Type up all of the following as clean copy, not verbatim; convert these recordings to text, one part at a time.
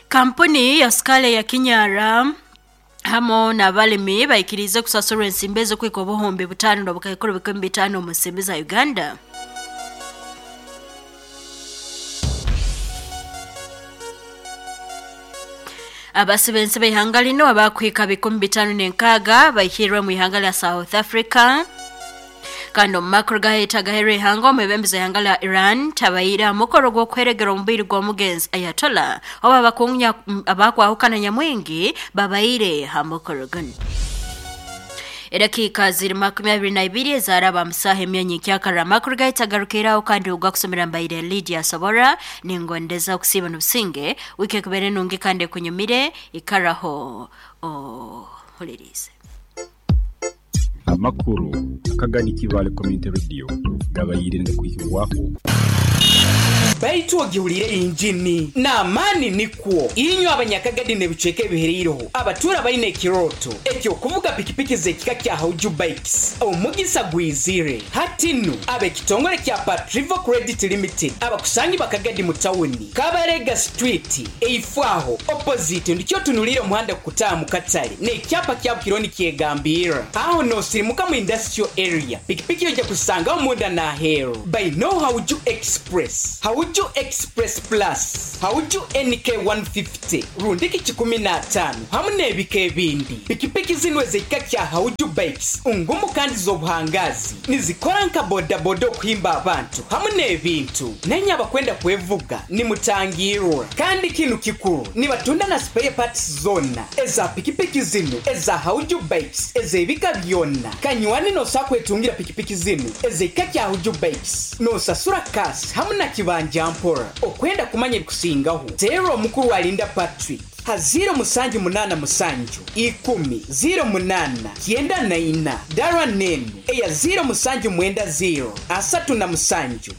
Kampuni ya sukali ya Kinyara hamo n'abalimi baikirize kusasurwa ensimbi ez'okwika 5,500 omu nsimbi za Uganda. Abasibensi b'ihanga lino abakwika 506 baihirwe mu ihanga lya South Africa. Kandi omu makuru gaheta gaherwa ihanga, omwebembezi ihanga lya Iran tabaira mukoro gw'okweregera omubiri gw'omugenzi Ayatollah oba abakunya abakwahukana nyamwingi babaire ha mukoro guno. Edakika ziri 22 ezaraba musaha emyanya ekyakara. Amakuru gahita agarukiraho kandi ogwa kusomera mbaire Lydia Sobora, ningondeza okusiiba n'obusinge. Wiki ekubere nungi kandi ekunyumire, ikaraho ohulirize. Amakuru akagani Kibale Community Radio gabaire nigakwihibwaho. Baitu ogihuliire injini n'amaani nikwo inywe abanyakagadi n'ebicweka ebihereireho abatuura baine ekirooto eky'okuvuga pikipiki z'ekika kya Hauju Bikes. Omugisa gwizire hati nu ab'ekitongole kya Patrivo Credit Limited abakusangi bakagadi mu tawuni Kabarega Street eifwaho opposite ndikyo otunuliire omuhanda kukutaaha mu katale n'ekyapa kyabo kiriho nikyegambirra aho n'osirimuka mu industrial area. Pikipiki ojja kusangaho munda n'aheeru. Bainoho Hauju Express, Hauju Express Plus, Hauju NK 150 rundiki 15 hamu n'ebika ebindi. Pikipiki zinu ez'ekika kya Hauju Bikes ngumu kandi z'obuhangazi, nizikora nka bodaboda okuhimba abantu hamu n'ebintu. Nenye abakwenda kwevuga nimutangirwa. Kandi kinu kikuru, nibatunda na spare parts zona eza pikipiki zinu eza Hauju Bikes ez'ebika byona. Kanywani nosa kwetungira pikipiki zinu ez'ekika kya Hauju Bikes, nosasura kasi hamu na kibanja mpora. Okwenda kumanya ebikusingaho, teera omukuru alinda Patrick ha 0787 10 08 94, dara nenu eya 0790 37 6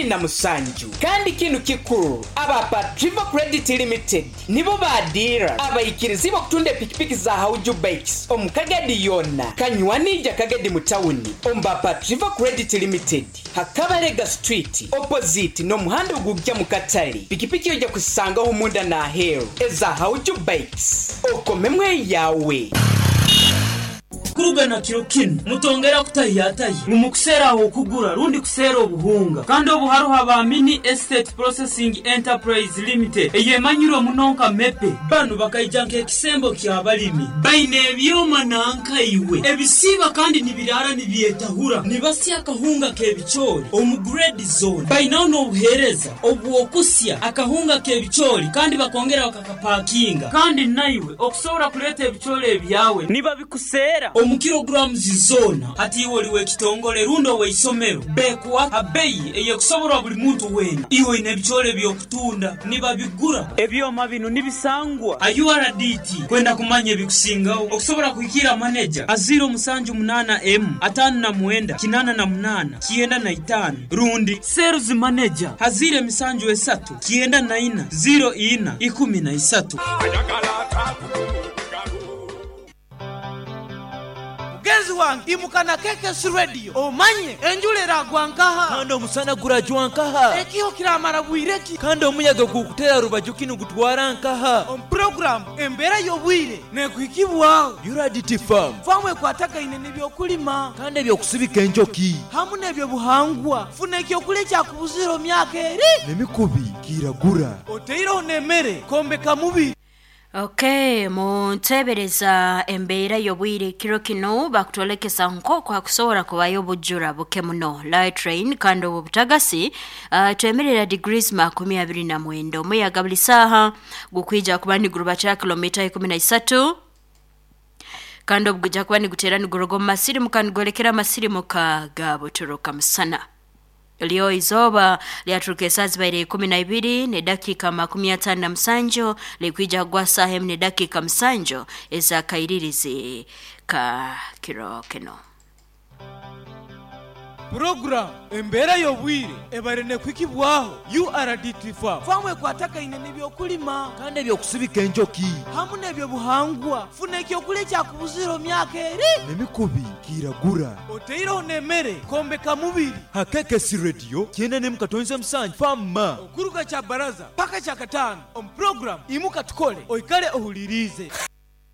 27. Kandi kinu kikuru, aba Patrivo Credit Limited nibo badira abaikirizi b'okutunda epikipiki za Hauju Bikes omu Kagadi yona. Kanywanija Kagadi mu tawuni omu ba Patrivo Credit Limited Hakabarega Street opposite n'omuhanda ogujja mu katale. Pikipiki ojja kusangaho munda n'aheeru eza Hauju Bikes, okomemwe yawe. Kuruga na kiro kinu mutongera kutahiyatahi ngu mukuseera aho okugura rundi kuseera obuhunga. Kandi obu haruho aba Mini Estate Processing Enterprise Limited eyemanyirwe muno nka Mepe. Banu bakaija nk'ekisembo ky'abalimi. Baine ebyoma nankaiwe ebisiiba kandi nibiraara nibyetahura, nibasya akahunga k'ebicoori omu grade zone. Bainaho n'obuheereza obw'okusya akahunga k'ebicoori kandi bakongera bakakapakinga. Kandi naiwe okusobora kuleeta ebicoori ebyawe nibabikuseera omu kilograms zona. Hati iwe oli w'ekitongole rundi ow'eisomero, bekuwa ha beyi eyekusoborwa buli muntu weena. Iwe oine ebicoori eby'okutunda nibabigura. Ebyoma binu nibisangwa ha URDT. Kwenda kumanya ebikusingaho okusobora kuhikira maneja ha 078 M 59 88 95 rundi sales manager ha 073 94 04 13. Mugenzi wange imuka na KKS Radio omanye enjura eragwa nkaha, kandi omusana gurajwa nkaha, ekiho kiramara bwire ki, kandi omuyaga gukutera rubaju kinu gutwara nkaha. Omu puroguramu embeera y'obwire nekuhikibwaho URDT Farm, famu ekwatagaine n'ebyokulima kandi ebyokusibika enjoki hamu n'ebyobuhangwa. Funa ekyokulya ekyakubuzire omu myaka eri n'emikubi kiragura, oteireho n'emmere kombeka mubiri. Okay, muntebereza embeera y'obwire kiro kino bakutwolekesa nk'oku hakusobora kubayo obujura buke muno, light rain, kandi obu butagasi twemerera degrees 29. Omuyaga buli saaha gukwija kuba nigurubatira kilomita 13, kandi obu gujja kuba niguteera niguruga omu masirimuka nigwolekera amasirimuka ga buturuka musana. Lyo izooba lyaturuka esaaha zibaire 12 n'edakiika 57, likwija kugwa saaha 1 n'edakiika 7 ez'akairirizi ka kiro kino. Puroguramu Embeera y'Obwire ebaire n'ekuhikibwaho URDT Farm. Faamu ekwatagaine n'ebyokulima. Kandi eby'okusibika enjoki. Hamu n'ebyobuhangwa. Funa ekyokulya ekyakubuzire omu myaka eri. N'emikubi kiragura. Oteireho n'emere kwombeka mubiri. Ha KKC Radio kyenda n'emu katonza musanju Farm Ma. Okuruga Kyabaraza paka Kyakataano omu puroguramu Imuka Tukole oikale ohuliriize.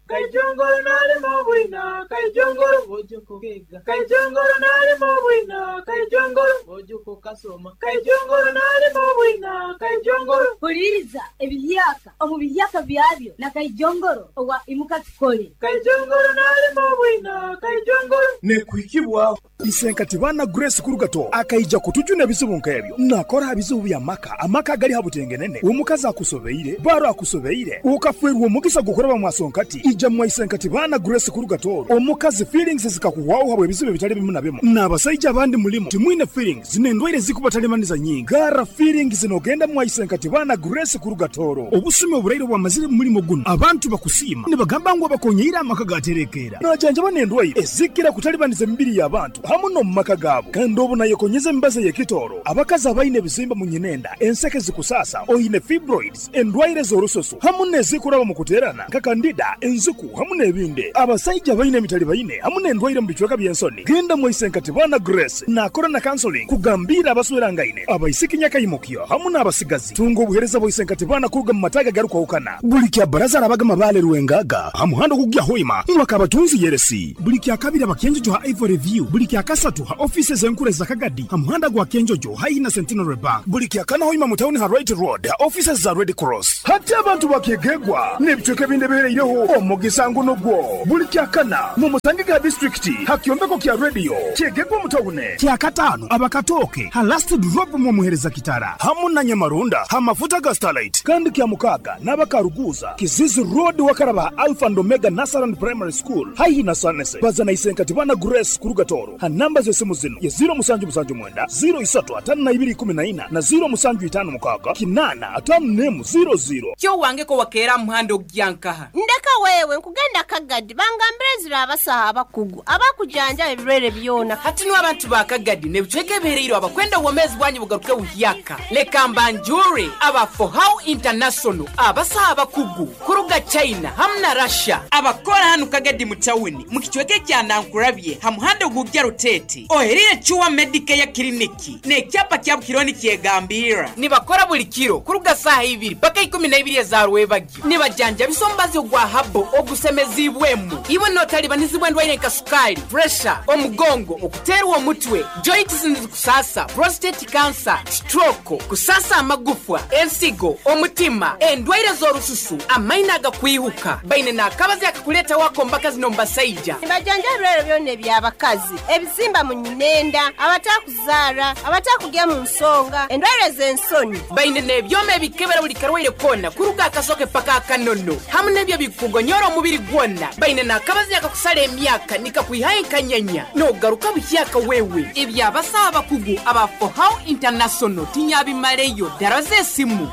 Kaijongoro nalima obwina, Kaijongoro Ojuka okeega, Kaijongoro nalima obwina, Kaijongoro Ojuka okasoma, Kaijongoro nalima obwina, Kaijongoro. Huliriza ebihyaka omu bihyaka byabyo na Kaijongoro owa Imuka Tukole. Kaijongoro nalima obwina, Kaijongoro. Nekuhikibwaho. Isenkati baana Grace Kurugato akaija kutujuna ebizibu nk'ebyo. Nakora ha bizibu bya maka, amaka agali ha butengenene. Omukazi akusobeire, baro akusobeire, ukafwerwa omugisa gukuraba mwasonkati. Ija mwa Isenkati baana Grace Kurugato. Omukazi feelings zikakuhwaho habwe ebizibu ebitali bimu na bimu. N'abasaija abandi mulimu timwine feelings n'endwaire zikubatalimaniza nyingi. Gara feelings nogenda mwa Isenkati baana Grace Kurugatoro. Obusumi oburaire bwamazire mu mulimo guno. Abantu bakusiima nibagamba ngu abakonyeire amaka gaterekeera. Najanjaba n'endwaire ezikira kutalibaniza emibiri y'abantu hamu n'omu maka gaabo. Kandi obu nayekonyeza emibazi ey'ekitooro, abakazi abaine ebizimba mu nyinenda, enseke zikusasa, oine fibroids, endwaire z'orususu hamu n'ezikuraba mu kuteerana nka kandida, enziku hamu n'ebindi. Abasaija abaine emitali baine hamu n'endwaire mu bicweka by'ensoni, genda mu Isenkati baana Grace naakora na counseling kugambira abaswerangaine, abaisiki nyakaimukyo hamu n'abasigazi. Tunga obuheereza bwa Isenkati baana kuruga mu mataaga agarukwahukana. Buli kya baraza arabaga Mabale Rwengaga ha muhanda ogugya Hoima mwaka abatunzi Yeresi. Buli kya kabiri abakenjojo ha Ivory View. Buli kya kasatu ha offices enkuru za Kagadi ha muhanda gwa Kenjojo haihi na Centenary Bank. Buli kya kana Hoima mu town ha Right Road ha offices za Red Cross. Hati abantu bakegegwa n'ebicweka ebindi ebihereireho omugisa nguno gwo. Buli kya kana mu musange ga district ha kyombeko kya radio kyegegwa mu town. Kya katano abakatoke ha last drop mu muhereza kitara hamu na Nyamarunda ha mafuta ga Starlight. Kandi kya mukaga n'abakaruguza Kizizi Road wakaraba Alpha and Omega Nasaran Primary School haihi na Sanese. Bazana Isenkati bana Grace Kurugatoro ha namba z'esimu zino ye 0779 035214 na 0756 854 00. Kyo wange ko wakeera muhando gyankaha. Ndeka wewe nkugenda Kagadi bangambire zira abasaha abakugu abakujanja ebirwere byona. Hati no abantu ba Kagadi nebicweke ebihereire abakwenda obwomezi bwanyu bugaruke buhyaka. Leka mbanjure aba For How International abasaha abakugu kuruga China hamu na Russia abakora hanu Kagadi mu tawuni mu kicweke kya Nankurabye ha muhando gugya Rutete oherire Chua Medicare Clinic n'ekyapa kya Bukironi kyegambira nibakora buli kiro kuruga saha ibiri paka 12 za rwebagyo nibajanja bisombazi ogwa habo ogusemezibwemu iwe notalibanizibwa endwaire nka sukali, pressure, omugongo, okuterwa omutwe, joints nizikusasa, prostate cancer, stroke, kusasa amagufwa, ensigo, omutima, endwaire z'orususu, amaino agakwihuka. Baine n'akabazi akakuleta wako mbakazi n'omubasaija. Nibajanja ebirwere byona eby'abakazi, ebizimba mu nyinenda, abatakuzaara, abatakugya mu nsonga, endwaire z'ensoni. Baine n'ebyoma ebikebera buli karwaire kona kuruga akasoke paka akanono hamu n'ebyo bikugonyora omubiri gwona. Baine n'akabazi akakusala emyaka nikakwihayo enkanyanya n'ogaruka buhyaka wewe. Ebyabasaha abakugu aba For How International tinyabimaleyo. Dara z'esimu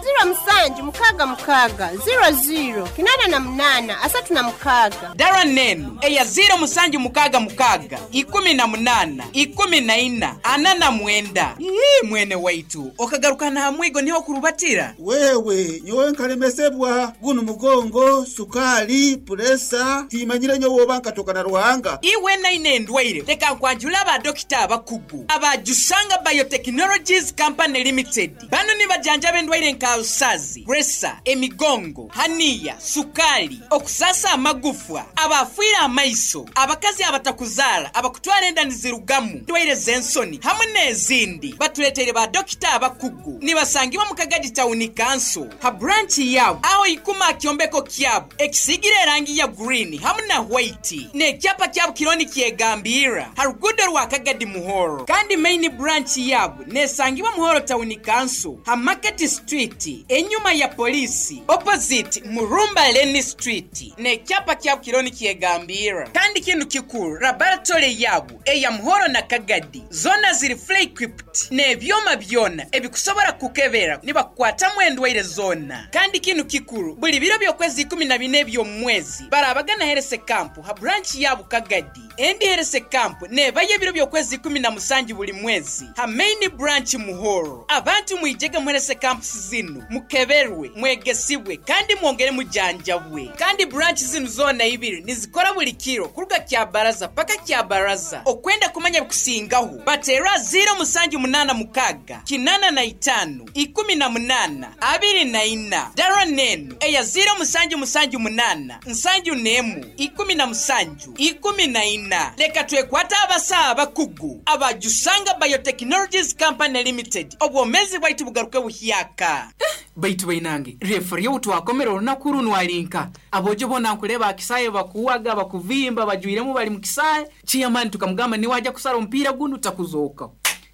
0766 00 88 36. Dara nenu eya 0766 18 14 49. Ii mwene waitu okagaruka na hamwigo niho kurubatira. Wewe nyowe nkalemesebwa guno mugongo, sukali, puresa, timanyire nyowe oba nkatoka na Ruhanga. Iwe naine endwaire leka nkwanjula aba dokita abakugu aba Jusanga Biotechnologies Company Limited. Bano nibajanjaba endwaire nka usazi, presa, emigongo, haniya, sukali, okusasa amagufwa, abafiire amaiso, abakazi abatakuzaara, abakutwara enda nizirugamu, endwaire z'ensoni hamwe n'ezindi. Batuleteire ba dokita abakugu nibasangibwa mu Kagadi Town Council ha branch yabo aho ikuma kyombeko kyabo ekisigire erangi ya green hamwe na white n'ekyapa kyabo kironi kyegambira ha rugudo rwa Kagadi Muhoro. Kandi main branch yabo nesangibwa Muhoro Town Council ha Market Street. Street, enyuma ya polisi, opposite Murumba Leni Street. N'ekyapa kyabo kiriho nikyegambirra. Kandi kinu kikuru, laboratory yabo eya Muhoro na Kagadi zona ziri fully equipped n'ebyoma byona ebikusobora kukebera nibakukwatamu endwaire zona. Kandi kinu kikuru, buli biro by'okwezi 14 eby'omu mwezi barabagana Health Camp ha branch yabo Kagadi. Endi Health Camp nebayo ebiro by'okwezi 17 buli mwezi ha main branch Muhoro. Abantu mwijege mu Health Camps zinu, mukeberwe, mwegesibwe kandi mwongere mujanjabwe. Kandi branch zinu zona ibiri nizikora buli kiro kuruga Kyabaraza paka Kyabaraza. Okwenda kumanya bikusingaho batera 0786 85 18 24. Dara nenu eya 0778 71 17 14. Leka twekwate abasawo abakugu abajusanga Biotechnologies Company Limited, obwomezi bwaitu bugaruke buhyaka. Baitu bainange referi twakomera olunaku runo alinka abojo bona nkuleba akisaye bakuwaga bakuvimba bajwiremu bali mukisaye. Chairman tukamugamba niwaja kusala omupiira guno takuzoka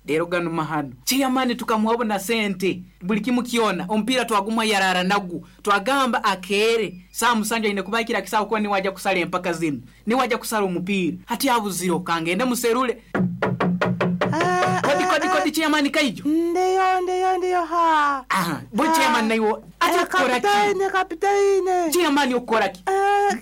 lero gano mahano. Chairman tukamuwabona sente buli kimu kiona omupiira twagumwa yarara nagu twagamba akere saa musanju aine kubakira kisawo kuba niwaja kusala empaka zino niwaja kusala omupiira hati abuziro kangende muserule. Kodi kodi kodi chairman kaijo. Ndiyo ndiyo ndiyo ha. Aha, bo chairman naiwo ati okora ki? Kapitaine kapitaine. Chairman okora ki?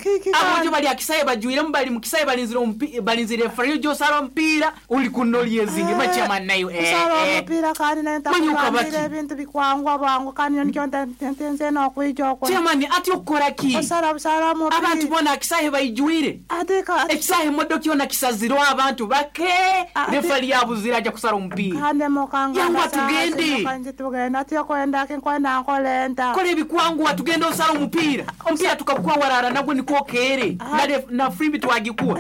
Kiki. Abojo bali akisaye bajwiremu bali mukisaye balinzira omupiira balinzira referee jo sala omupiira uli kunoli ezingi ba chairman nayo Sala omupiira kandi nenta kugambira ebintu bikwangwa bwangu kandi nikyo ntenze n'okwijja okwo. Chairman ati okora ki? Osala busala omupiira. Abantu bona akisaye bayijwire. Atika ekisaye modoka yona kisazirwa abantu bake referee yabuzira aja kusala omupiira. Kandi mukanga Yangwa tugende. Kandi tugende ati okwenda kinkwenda nkolenta. Kola ebikwangwa tugende osala omupiira. Omupiira tukakwa warara nagwo niko kere. Na frimbi twagikuwa.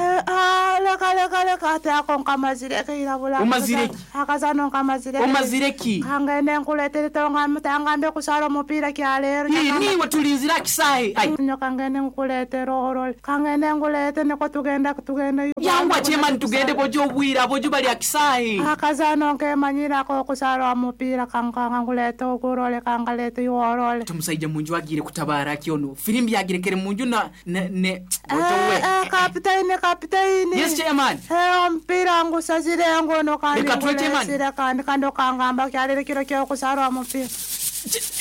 Leka leka leka ati ako nkamazire kirabula. Omazire ki? Akazano nkamazire. Omazire ki? Kangende nkuletere tonga mutangambe kusala omupiira kya leero. Niwe tulinzira kisahe. Ai. Nyo kangende nkuletere orole. Kangende nkulete niko tugenda tugenda. Yangwa chairman tugende bojo obwira bojo bali akisahe. Akazano nkemanyirako okusala omupiira kankanga nkulete ogurole kangalete yorole. Tumusaija munju agire kutabara kyono. Firimbi agirekere munju na ne bojo we. Kapitaine kapitaine. Yes chairman. Omupiira ngusazire ngono kandi Leka tuwe chairman. ngulesire kandi kandi okangamba kyalere kiro kyokusala omupiira.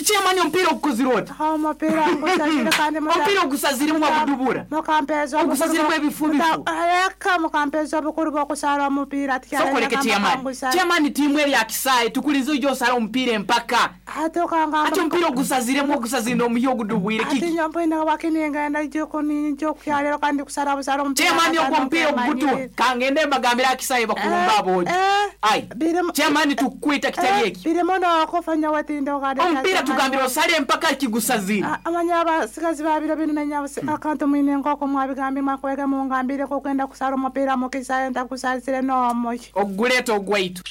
Chairman omupiira ogukozire oti? Omupiira ngusazire kandi omupiira ogusaziremu wagudubura. Mukampeza ogusaziremu ebifu bifu. Leka mukampeza obukuru bw'okusala omupiira Sokoleke chairman. Chairman tiimu eri akisaye tukulize ojo osala omupiira empaka. Ate okangamba Ati omupiira ogusaziremu ogusazire omuhi ogudubwire Ati kiki? nyampoine wakiningenda joko kyalero kandi kusala busala omupiira. Chairman ogwo omupiira ogugutuwa. Kangende mbagambire akisaye bakulumba abojo. Ai. Chairman tukwita kitali eki. Birimu n'okufanya wetinda ogade. Omupiira tugambira osale empaka kigusazire. Amanya abasigazi babiro bino nanyabuse akantu mwine nkoko mwabigambye mwakwega mungambire ko kwenda kusala omupiira mukisaye ntakusazire n'omuki. Oguleta ogwaitu.